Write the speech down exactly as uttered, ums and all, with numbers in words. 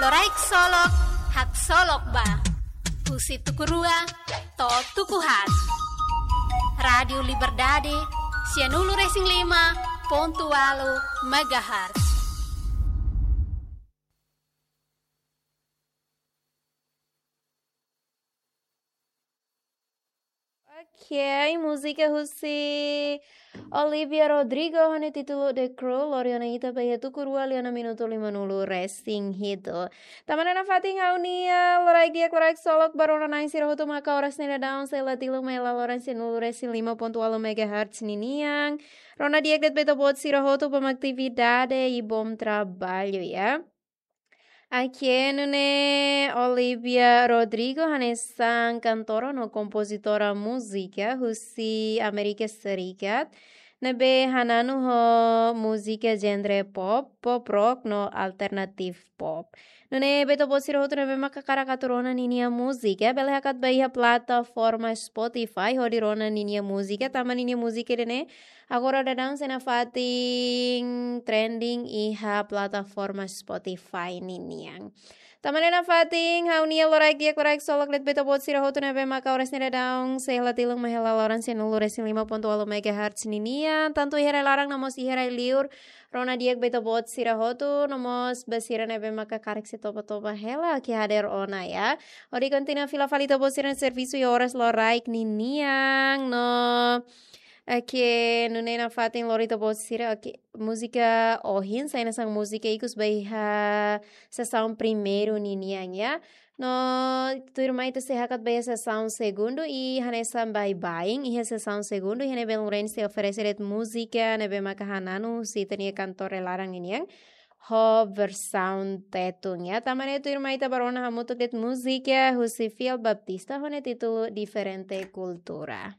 Loraik Solok, haksolok ba. Husi tuku rua to'o tuku haat. Rádiu Liberdade, sianulu-resin-lima pontu ualu megahertz. Ok, múzika husi Olivia Rodrigo ho nia títulu The Crew, lori ona ita ba iha tuku rua liu ona minutu limanulu-resin-hitu. Tanba ne'e nafatin ha'u-nia loraik di'ak, loraik solok ba rona-na'in sira hotu maka oras ne'e daudaun sei la tilun mai hela loron sianulu-resin-lima pontu ualu megahertz ninian. Rona di'ak de'it ba ita-boot sira hotu ba atividade i bom trabalho, ya. Oke, nune'e Olivia Rodrigo hanesan kantora no kompozitora múzika husi Amérika Serikat, ne'ebé hananu ho múzika genre pop, pop rock no alternative pop. Nune'e ba ita-boot sira hotu ne'ebé maka hakarak atu rona ninia múzika, bele hakat ba iha plataforma Spotify hodi rona ninia múzika, tanba ninia múzika ida-ne'e agora daudaun sei nafatin trending iha plataforma Spotify ninian. Tanba ne'e nafatin ha'u-nia loraik di'ak, loraik solok de'it ba ita-boot sira hotu ne'ebé maka oras ne'e daudaun sei la tilun mai hela loron sianulu-resin-lima pontu ualu megahertz ninian, tantu iha rai laran no mós iha rai liur. Rona di'ak ba ita-boot sira hotu, no mós ba sira ne'ebé maka hakarak sei toba-toba hela, oke, hadeer ona, ya. Hodi kontinua fila fali ita-boot sira-nia servisu iha oras loraik ninian, no, oke, nune'e nafatin lori ita-boot sira, oke, múzika ohin sai hanesan múzika ikus ba iha sesaun primeiru ninian, ya. No tuirmai ita sei hakat ba iha sesaun segundu i hanesan baibain iha sesaun segundu, iha ne'ebé Luren sei oferese de'it múzika ne'ebé maka hananu husi ita-nia kantora rai laran ninian ho versaun Tetun, ya. Tanba ne'e tuirmai ita ba rona hamutuk de'it múzika husi Fiel Baptista ho nia títulu Diferente Kultura.